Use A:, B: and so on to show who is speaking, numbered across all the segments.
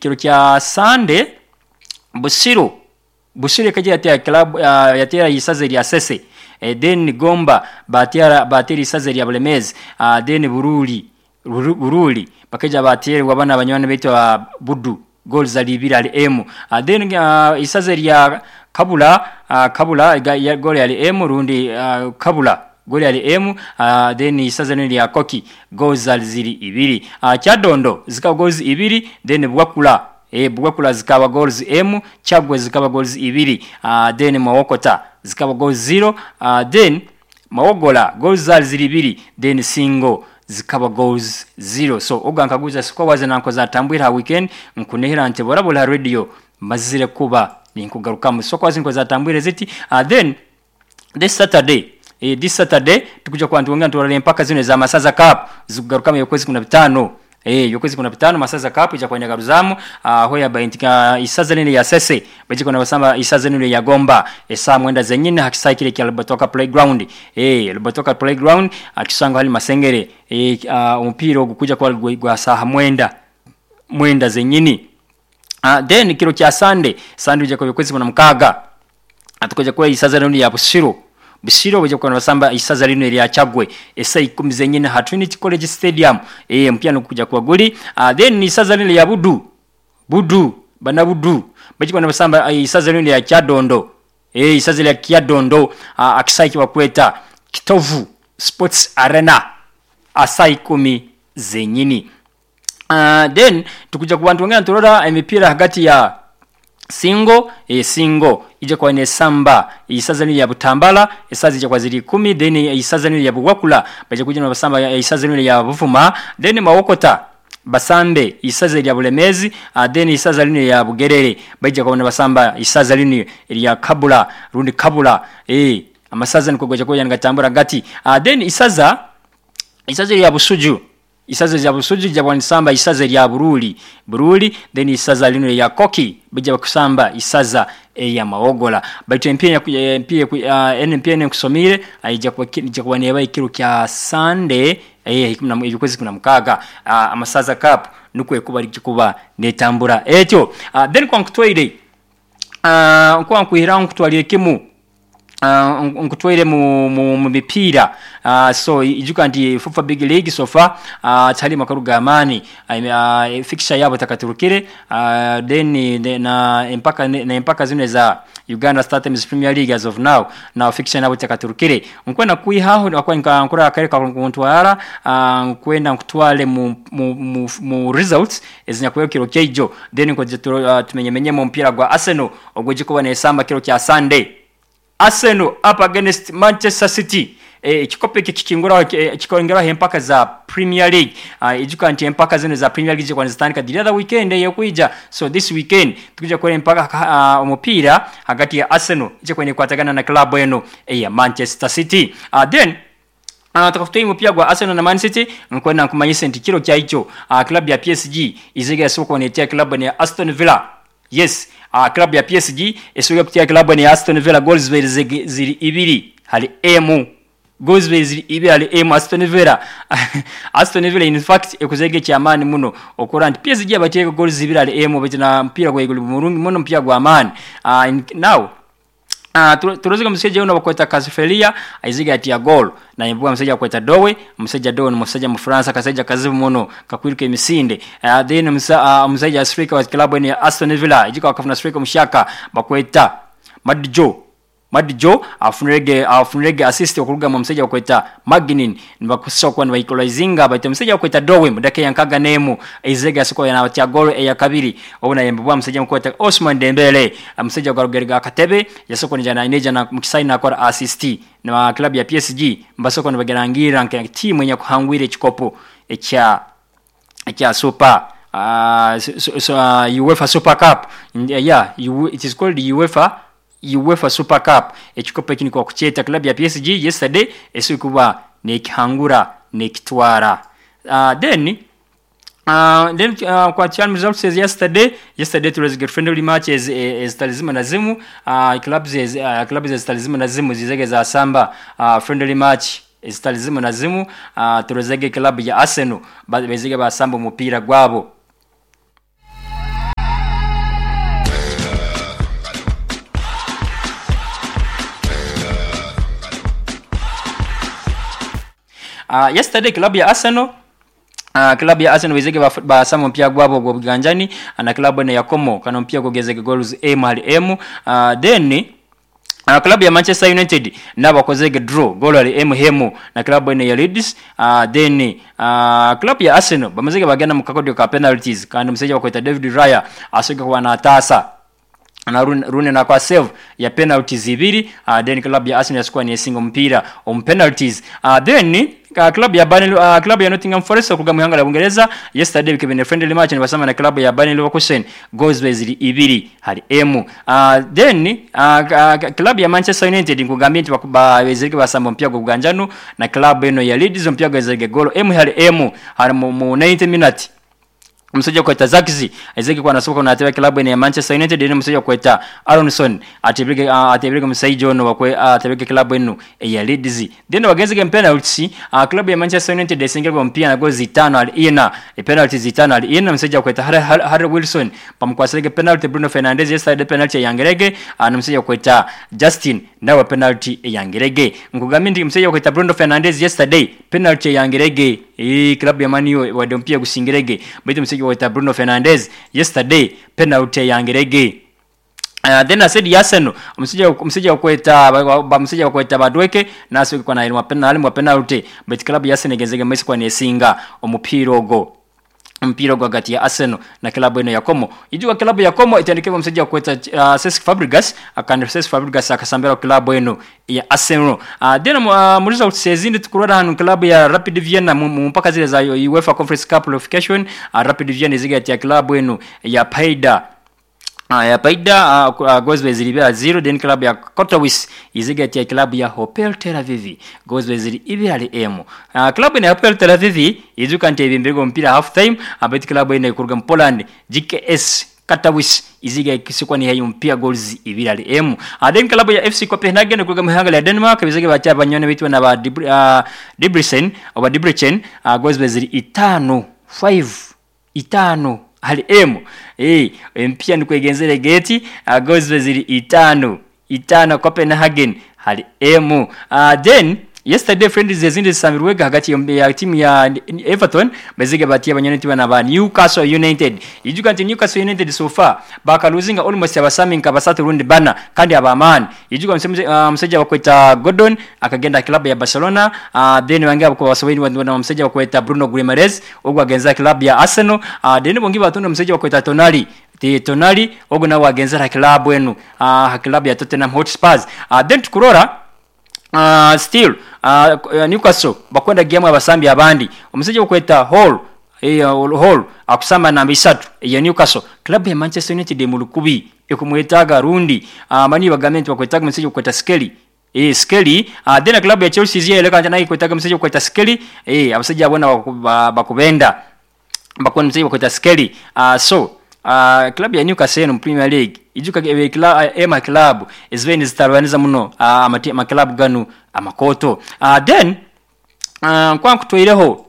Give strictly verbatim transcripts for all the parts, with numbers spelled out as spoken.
A: Kiro kya Sunday, Busiro Busiro ekaija yateera club uh, yateera isaza erya Sese. eh, then Gomba bateera bateera isaza erya Bulemezi. uh, then Buruli Buruli bakaija bateerwa bana abanywani baitu ba Budu, goals zali ibiri ali emu. uh, then uh, isaza erya Kabula, uh, Kabula ya goal yali emu, rundi uh, Kabula goal yali emu. uh, then isaza lino lya Koki, goals zali ziri ibiri. uh, Kyadondo zikaba goals ibiri, then Bwakula, eh Bwakula zikaba goals emu, Chagwe zikaba goals ibiri. uh, then Mawokota zikaba goals zero. uh, then Mawogola goals zali ziri ibiri, then Singo zikaba goals zero. So oga nkaguza siko waze nanko zatambwira weekend, nkunehera nti borabula radio mazire kuba ninkugarukamu soko waze nko zatambwire ziti. uh, then this Saturday, eh, this Saturday tukuja kwa ntuonga ntuwala empaka zino za Masaza Cup zikugarukamu yokwezi kuna bitano. Eh yokwezi kuna bitano Masaza Cup ija kwenda garuzamu uh, hoya baintika isaza nene ya Sese bajiko na basamba isaza nene ya Gomba esa mwenda zenyine hakisai kile kya Lubatoka Playground. eh Lubatoka Playground akisanga hali Masengere. eh uh, umupira ogukuja kwa gwa saha mwenda mwenda zenyini. uh, then kiro kya Sunday, Sunday ija kwa yokwezi kuna mkaga atukoja kwa isaza nene ya Busiro Busiro bwe kwa basamba isaza lino erya Chagwe esa ikumi zenyine ha Trinity College Stadium. eh mpya nokuja kwa goli. uh, then isaza lino ya Budu Budu bana Budu bwe kwa basamba isaza lino ya Kyadondo. eh isaza lya Kyadondo uh, akisaiki wakweta Kitovu Sports Arena asa ikumi zenyini. uh, then tukuja ku bantu wengine turora emipira hagati ya Singo, e, Singo ije kwa nesamba isaza ni ya Butambala isaza ije kwa ziri kumi, then isaza ni ya Bugwakula baje kuja na basamba isaza ni ya Buvuma, then Mawokota basambe isaza ya Bulemezi. uh, then isaza ni ya Bugerere baje kwa basamba isaza ni ya Kabula rundi Kabula. eh amasaza ni kugoja kwa ngatambura gati. uh, then isaza isaza ya Busuju isaza ya Busuju ja bwanisamba isaza ya Buruli Buruli, then isaza lino ya Koki bija bakusamba isaza ya Mawogola. Baitu M P ya M P N P N kusomire aija kwa kija kwa neba ikiro kya Sunday eh ikwezi kuna mkaga uh, amasaza cup nukwe kuba kuba netambura etyo. uh, then kwa nkutwaire uh, kwa nkuhira nkutwalire kimu Uh, nkutwaire mu, mu, mu mipira. uh, so ijuka nti FIFA Big League so far uh, tali makaruga amani uh, uh, fixture yabo takaturukire. uh, then de, na empaka na empaka zino za Uganda Star Times Premier League as of now na fixture nabo takaturukire nkwenda kuihaho akwa nkura akareka kuntwara uh, nkwenda nkutwale mu, mu, mu, mu results ezinyakuyo kiro keijo. Then nkoje uh, tumenyemenye mu mpira gwa Arsenal ogweje kuba nesamba kiro kya Sunday, Arsenal up against Manchester City. Eh kikope kikingura kikongera empaka za Premier League. uh, ijuka nti empaka zino za Premier League kwa zitandika the other weekend yokuija. So this weekend tukija kwa empaka uh, omupira hagati ya Arsenal ije kwenye kwatagana na club eno ya Manchester City. uh, then Uh, tukafuta mpira gwa Arsenal na Man City nkwenda nkumanyise nti kiro kya icho uh, club ya P S G iziga soko netia club ya Aston Villa. Yes, uh, club ya P S G esuga kutia club ni Aston Villa goals ziri ibiri hali emu goals ziri ibiri hali emu Aston Villa. Aston Villa in fact ekuzege kyamani muno okora nti P S G abateka goals zibiri hali emu betina mpira gwa igulu murungi muno mpira gwa amani. uh, in, now Uh, turuziga mseja uno bakweta Kasifelia aiziga ati goal na imbuga mseja kweta Dowe mseja Dowe ni mseja Mfransa kaseja kazibu muno kakwiruka emisinde. uh, then msa, uh, mseja Afrika wa club ni Aston Villa ijika wakafuna Afrika mshaka bakweta Madjo Madjo afunirege afunirege assist okuruga mu mseja bakweta Magnin nibakusoka kwa equalizinga baita mseja bakweta Dowe mudake yankaga nemu izega siko yana batia goal ya kabiri obona yembwa mseja mkweta Osman Dembele mseja gwa Rugerga Katebe yasoko njana ineja na mkisaina akora assist na club ya P S G mbasoko nibagerangira nke timu yenye kuhangwire ekikopo ekya ekya super uh, so, so, uh, UEFA Super Cup. Yeah, it is called UEFA UEFA Super Cup. Ekikopo ekini kwa kucheta club ya P S G yesterday esikuba nekihangura nekitwara. Uh, then uh, then uh, kwa chan results yesterday yesterday it was friendly matches ezitalizima na zimu uh, clubs uh, clubs ezitalizima na zimu zizege za samba uh, friendly match ezitalizima na zimu. uh, turezege club ya Arsenal bezege basamba umupira gwabo. Uh, yesterday club ya Arsenal, Uh, club ya Arsenal bezege basama mpya gwabo gwa buganjani na club ene ya Como kano mpya gogezege goals M hali M. Uh, then Uh, club ya Manchester United nabo bakozege draw goal ali M hemu na club ene ya Leeds. Uh, then uh, club ya Arsenal bamazege bagenda mu kakodio ka penalties, kandi musajja bakweta David Raya asoge kuba natasa na rune na kwa save ya penalties ibiri. Uh, then club ya Arsenal yasikuwa ni single mpira on penalties. Uh, then uh, club ya Burnley, uh, club ya Nottingham Forest okuga mu ihanga la Bungereza yesterday bikebene friendly match ne basama na club ya Burnley Leverkusen, goals beziri ibiri hali M. Uh, then uh, uh, club ya Manchester United nkugambye nti bazirike basamba mpya go buganjano na club eno ya Leeds mpya gozege goal M hali M hali mu, mu ninety minutes. Musajja kweta Zakizi Ezeki kwa nasoboka na club ya Manchester United, ni musajja kweta Aronson atebirike uh, atebirike musajja ono wakwe atebirike club eno ya Leeds. Then wagenze game penalty, uh, club ya Manchester United esingirwa mpia na goals zitano al ina e penalty zitano al ina. Musajja kweta Harry, Harry Wilson pamkwasirike penalty, Bruno Fernandes yesterday penalty ya Yangerege, uh, na musajja kweta Justin nawe penalty ya Yangerege. Nkugambye nti musajja kweta Bruno Fernandes yesterday penalty ya Yangerege, e club ya Man U wadompia gusingirege baitu musajja kweta Bruno Fernandes yesterday penalty ya Yangerege. Uh, then I said Arsenal musajja musajja kweta ba musajja kweta Badweke naso kwa na penalty mwa penalty but club ya Arsenal gezege mwesi kwa nesinga omupira ogo mpira gwa gati ya Arsenal na klabu eno ya Como. Ijuwa klabu ya Como itandikwa msajja kweta uh, Cesc Fabregas, akandi Cesc Fabregas akasambira klabu eno ya Arsenal. Uh, then uh, muliza usezindi tukurora hanu klabu ya Rapid Vienna mpaka zile za UEFA Conference Cup qualification. uh, Rapid Vienna zigati ya klabu eno ya Paida Uh, ya Paida uh, uh, goals zilibera zero. Then club ya Kotowis izigati ya club ya Hapoel Tel Aviv goals zili ibirali M. Uh, club ya Hapoel Tel Aviv izuka nte ibimbego mpira half time abet club ine kuruga Poland G K S Katowice iziga kisikwa ni hayo mpira goals ibirali M. Uh, then club ya F C Copenhagen kuruga muhanga ya Denmark bizige bacha banyone bitwa na ba uh, Debrecen oba Debrecen uh, goals zili itano five itano hali M. Eh, mpia ni kuegenzere geti uh, goals zili itano itano Copenhagen hali M. Uh, then yesterday friendlies zezindi zisamirwega hagati ya timu ya Everton bezige batia banyone tiba na ba Newcastle United. Ijuka nti Newcastle United so far baka losing almost abasami nka basatu rundi bana kandi abamani. Ijuka msajja uh, msajja wakweta Gordon akagenda club ya Barcelona. uh, then wange kwa wasoweni na msajja wakweta Bruno Guimaraes ogwa agenza club ya Arsenal. uh, then bongi batunda msajja wakweta Tonali Ti Tonali ogwo nawe agenza club wenu uh, club ya Tottenham Hotspurs. uh, then tukurora Uh, still uh, Newcastle bakwenda game abasambi abandi omusajja okweta Hall eh Hall akusamba namba isatu ya Newcastle. Club ya Manchester United mu lukubi ekumwetaga rundi uh, mani bagamenti bakwetaga omusajja okweta Skelly eh Skelly. uh, then club ya Chelsea ziye leka nayo kwetaga omusajja okweta Skelly eh abasajja abona bakubenda bakwenda omusajja okweta Skelly. uh, so Uh, club ya Newcastle mu Premier League ijuka e club ema club ezveni zitarwaniza muno uh, amati ma club ganu amakoto. uh, then uh, kwa kutoireho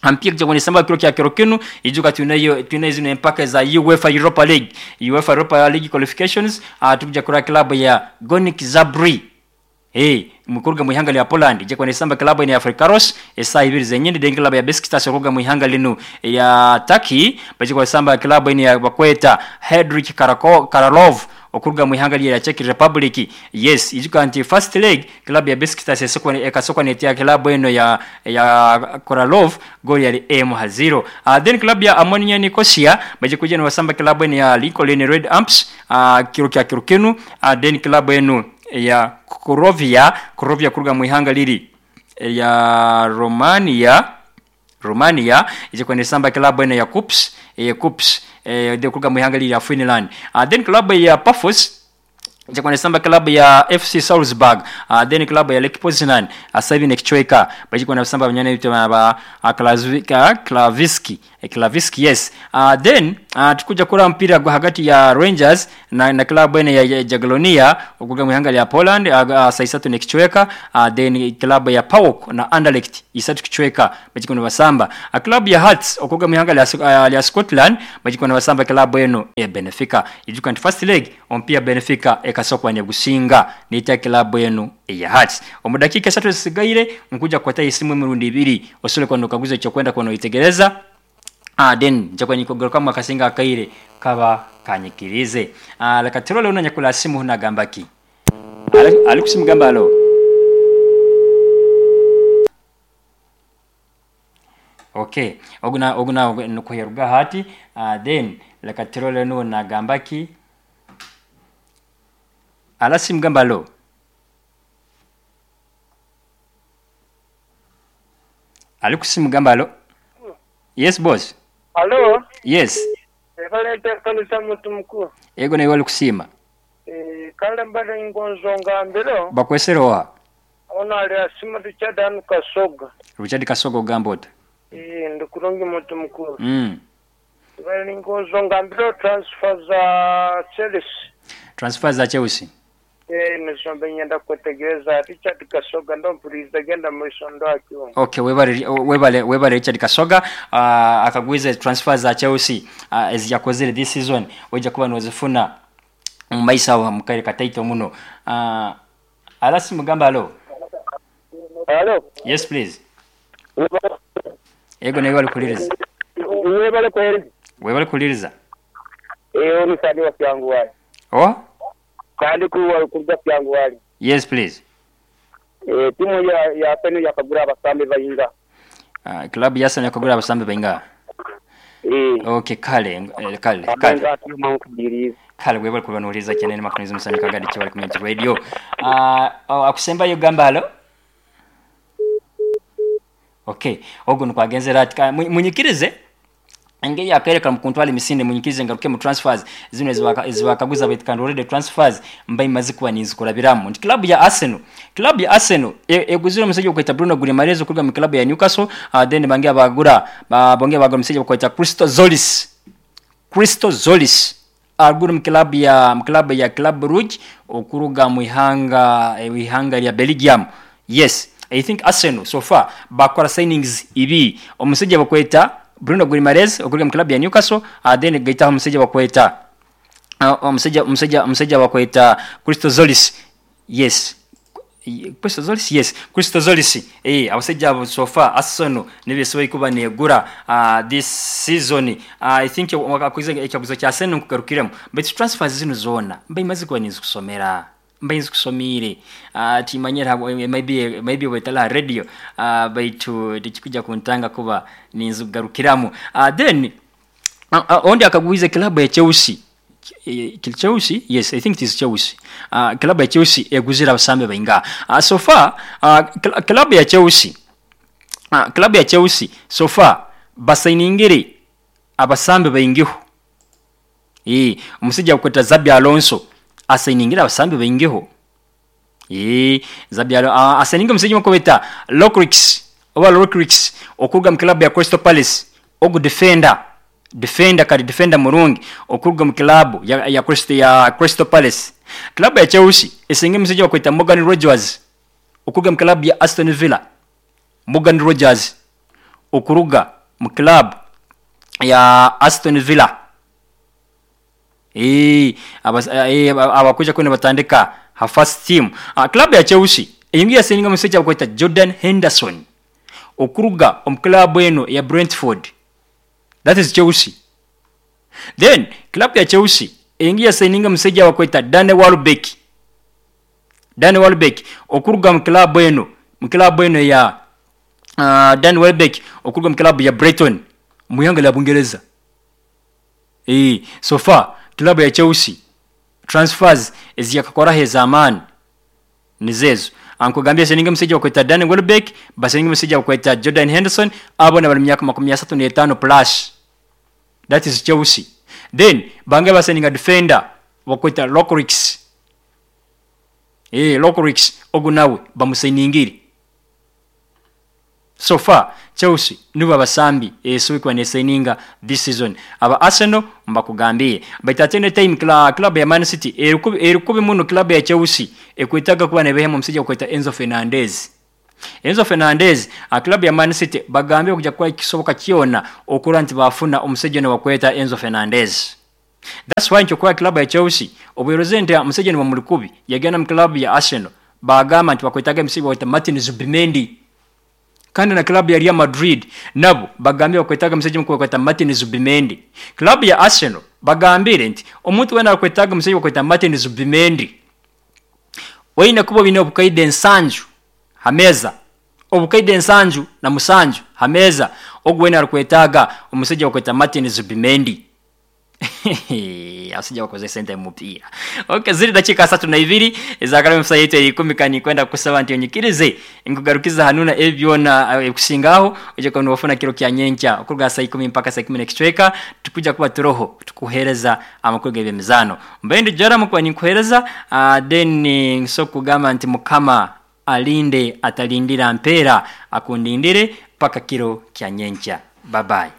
A: ampia kujya samba kiro kya kiro kinu ijuka tunayo tunayo zino empaka za UEFA Europa League UEFA Europa League qualifications. uh, tukuja kura club ya Górnik Zabrze hey mukuruga muhanga ya Poland je kwa nisamba club ya Afrikaros esa ibiri zenyende den club ya Besiktas kuruga muhanga linu ya Turkey baje kwa samba club ya bakweta Hedrick Karako Karalov okuruga muhanga ya Czech Republic. Yes, ijuka anti first leg club ya Besiktas esokwa ekasokwa netia club eno ya ya Karalov goal ya M zero. Uh, then club ya Ammonia Nicosia baje kuja na wasamba club ya Lincoln Red Amps uh, kiro kya kirukenu. uh, then club eno ya Korovia Korovia kuruga muhanga liri ya Romania Romania ije kwende samba club eno ya Kups eh Kups eh de kuruga muhanga liri ya Finland. uh, then club ya Pafos ije kwende samba club ya F C Salzburg. uh, then club ya Lech Poznan asabi nekichweka baje kwenda samba banyane bitwa ba Klaviski Klaviski, yes. uh, then uh, tukuja kula mpira gwa hagati ya Rangers na, na klabu ene ya, ya Jagiellonia okuga mu ihanga lya Poland uh, uh, saa isatu nekichweka. uh, then klabu ya PAOK na Anderlecht isatu kichweka bachiko basamba. uh, klabu ya Hearts okuga mu ihanga lya, uh, lya Scotland bachiko basamba klabu eno ya Benfica. Ijuka nti first leg ompia Benfica ekasokwa ne gusinga nita klabu eno ya Hearts. Omu dakika esatu zisigaire nkuja kwata isimu emirundi ibiri osole kwano kaguze ekyo kwenda kwano itegereza. Ah, then njakwa nikogaruka mu akasinga akaire kaba kanyikirize. Ah, leka turole una nyakula simu nagamba ki ali kusimugamba alo. Okay, oguna oguna nukuheruga hati. Ah, then leka turole no nagamba ki ala simugamba alo. Ali kusimugamba alo. Yes boss.
B: Hello.
A: Yes.
B: Ebalete kanisa mutu mkuu.
A: Ego na iwali kusima.
B: Eh, kale mbale ngonzonga mbelo.
A: Bakweserowa.
B: Ona ali asima Richard anu Kasoga.
A: Richard Kasoga ogamba ota.
B: Eh, ndikulungi mutu mkuu.
A: Mm.
B: Ebale ngonzonga mbelo transfer za Chelsea.
A: Transfer za Chelsea.
B: Eh, nisombe nyenda kwetegereza Richard Kasoga ndo mpuriza genda mu akiwo.
A: Okay, webale webale webale Richard Kasoga uh, akagwize transfer za Chelsea uh, eziyakozere this season wejja kuba nozifuna mu maisa wa mukaire kataito muno. Uh, alasi mugamba alo.
B: Hello.
A: Yes please. Ego nawe wali kuliriza.
B: Webale kweri.
A: Webale kuliriza.
B: Eh, oni sadi wa kyangu wali.
A: Oh?
B: Kandi kuwa kuruga kyangu wali.
A: Yes please.
B: Eh, timu ya ya penu ya kagura abasambe bayinga.
A: Ah, club ya Arsenal yakagura abasambe bayinga.
B: Eh.
A: Okay, kale eh, kale kale. Kale webale kubanuliza chenene makunizo musani kagadi chibali community radio. Ah, uh, akusemba yo gamba alo. Okay, ogo nukwagenzera ati munyikirize engeri yakereka mukuntwala emisinde munyikirize ngaruke mu transfers zino ezibakaguza baitu already transfers mba imaze kuba ninzikurabiramu nti club ya Arsenal club ya Arsenal eguzira omusajja okweta Bruno Guimaraes okuruga mu club ya Newcastle. uh, then bange abagura bonge bagura omusajja okweta Christo Zolis Christo Zolis agura mu club ya mu club ya Club Brugge okuruga mu ihanga ihanga lya Belgium. Yes, I think Arsenal so far bakora signings ibi omusajja bakweta Bruno Guimaraes okuruga mu club ya Newcastle, uh, then gaita omusajja bakweta omusajja uh, omusajja omusajja bakweta Christo Zolis. Yes, Christo Zolis, yes, Christo Zolis. Eh, abasajja abo so far Arsenal nibesoboye kuba negura uh, this season. uh, I think wakakuze ekyaguzo kya Arsenal nkugarukiremu but transfers zino zona mba imaze kuba nizikusomera mba nzikusomire uh, timanyira maybe maybe wetala radio uh, baitu tikikuja kuntanga kuba ninzugarukiramu. uh, then uh, uh, ondi akaguize club ya Chelsea. Chelsea, yes, I think it is Chelsea. Uh, club ya Chelsea eguzira abasambe bainga. Uh, so far uh, club ya Chelsea uh, club ya Chelsea so far basainingire abasambe baingiho. Eh, omusajja okweta Xabi Alonso asainingira abasambe baingiho. Eh, Xabi Alonso uh, asaininga omusajja okweta Lokrix oba Lokrix okuruga mu club ya Crystal Palace ogu defender defender kali defender murungi okuruga mu club ya ya Crystal ya Crystal Palace. Club ya Chelsea esinga omusajja okweta Morgan Rogers okuruga mu club ya Aston Villa. Morgan Rogers okuruga mu club ya Aston Villa. Eh, abakuja kwene batandika ha first team. Uh, club ya Chelsea eyingi yasinga omusajja okweta Jordan Henderson okuruga omu club eno ya Brentford. That is Chelsea. Then club ya Chelsea eyingi yasinga omusajja okweta Danny Welbeck. Danny Welbeck okuruga mu club eno mu club eno ya uh, Danny Welbeck okuruga mu club ya Brighton mu ihanga lya Bungereza. Eh, so far club ya Chelsea transfers eziyakakora hezamani nizezo. Ankugambye seninga musajja okweta Danny Welbeck, baseninga musajja okweta Jordan Henderson abo na bali myaka makumi asatu n'etaano plus. That is Chelsea. Then bange baseninga defender bakweta Lokrix. Eh, Lokrix ogu nawe bamusainingire. So far Chelsea nibo abasambi esobola nesigninga this season. Aba Arsenal mbakugambiye, but at any time cla, club ya Man City erikubi erikubi muno. Club ya Chelsea ekwetaga kuba nebehemu omusajja okweta Enzo Fernandez. Enzo Fernandez, a club ya Man City bagambye okujja kukola kisoboka kyona okulwa nti bafuna omusajja ono bakweta Enzo Fernandez. That's why nti club ya Chelsea obweroze nti omusajja ono bamulikubi yagenda mu club ya Arsenal, bagamba nti bakwetaga omusajja bakweta Martin Zubimendi. Kandi na club ya Real Madrid nabo bagambye bakwetaga omusajja mukulu bakweta Martin Zubimendi. Club ya Arsenal bagambire nti omuntu wena akwetaga omusajja bakweta Martin Zubimendi, oyina kuba bine obukaide ensanju hameza, obukaide ensanju na musanju hameza, ogwo wena arikwetaaga omusajja bakweta Martin Zubimendi. Asijja bakoze sente mupiira. Okay, ziri dakika asatu na ibiri ezakala msa yetu ikumi. Kani kwenda kusaba nti onyikirize nkugarukiza hanuna ebyona ekusingaho uje kono wafuna kiro kya nyenkya okuruga saa ikumi mpaka saa ikumi n'ekicweka. Tukuja kuba turoho tukuhereza amakuru g'ebyemizano. Mbendi jara mukuba ninkuhereza, uh, then nso kugamba nti Mukama alinde atalindira mpera akundindire mpaka kiro kya nyenkya. Bye bye.